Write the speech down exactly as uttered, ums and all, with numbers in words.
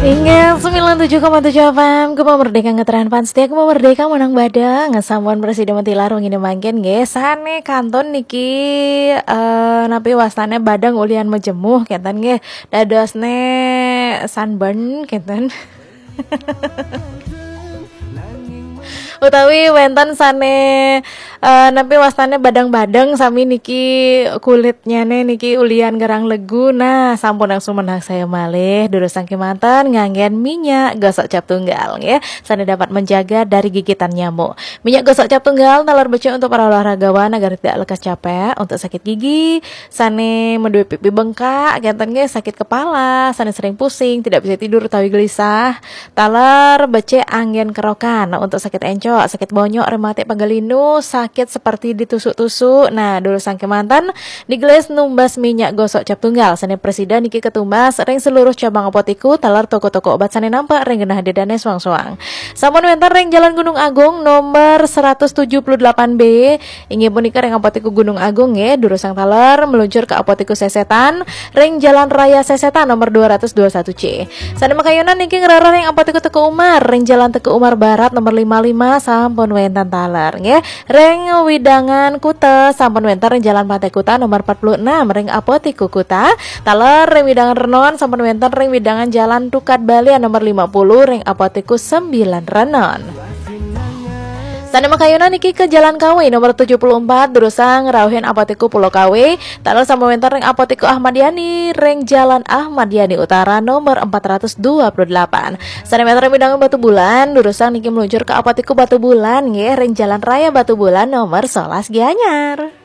Inggih, sembilan tujuh koma tujuh F M, Gema Merdeka ngetren pan setia, Gema Merdeka menang badeng, sampun prasida matilar wengi mangkin nggih, sane kantun niki, eh, napi wastane badeng ulian majemuh, kenten nggih, dadosne sunburn, kenten. Utawi wenten sane, eh, napi wastane badeng-badeng sami niki kulitnyane niki ulian gerang legu. Nah, sampun langsung menang saya malih. Durusang kemanten nganggen minyak gosok cap tunggal nggih. Sane dapat menjaga dari gigitan nyamuk. Minyak gosok cap tunggal taler becik untuk para olahragawan agar tidak lekas capek, untuk sakit gigi, sane menduwe pipi bengkak, kenten nggih, sakit kepala, sane sering pusing, tidak bisa tidur utawi gelisah. Taler becik anggen kerokan untuk sakit encok, sakit bonyok, rematik, pegal linu, sakit seperti ditusuk-tusuk. Nah, durusang kemanten digelis numbas minyak gosok cap tunggal sane prasida niki ketumbas ring seluruh cabang apotiku, taler toko-toko obat sane nampak ring genah dedane soang-soang. Sampun wenten ring Jalan Gunung Agung nomor seratus tujuh puluh delapan B, inggih punika ring Apotiku Gunung Agung nggih, durusang taler meluncur ke Apotiku Sesetan ring Jalan Raya Sesetan nomor dua ratus dua satu C. Sane makayunan niki ngrereh ring Apotiku Teuku Umar ring Jalan Teuku Umar Barat nomor lima lima, sampun wenten taler nggih. Ring wewidangan Kuta sampun wenten ring Jalan Pantai Kuta nomor empat puluh enam ring Apotiku Kuta. Taler ring wewidangan Renon sampun wenten ring wewidangan Jalan Tukad Balian nomor lima puluh ring Apotiku sembilan Renon. Sane makayunan niki ke Jalan Kawe nomor tujuh puluh empat, durusang rauhin Apotiku Pulau Kawe. Taler sampun wenten ring Apotiku Ahmad Yani ring Jalan Ahmad Yani Utara nomor empat ratus dua puluh delapan. Sane wenten ring wewidangan Batubulan, durusang niki meluncur ke Apotiku Batubulan nggih, ring Jalan Raya Batubulan nomor sebelas Gianyar.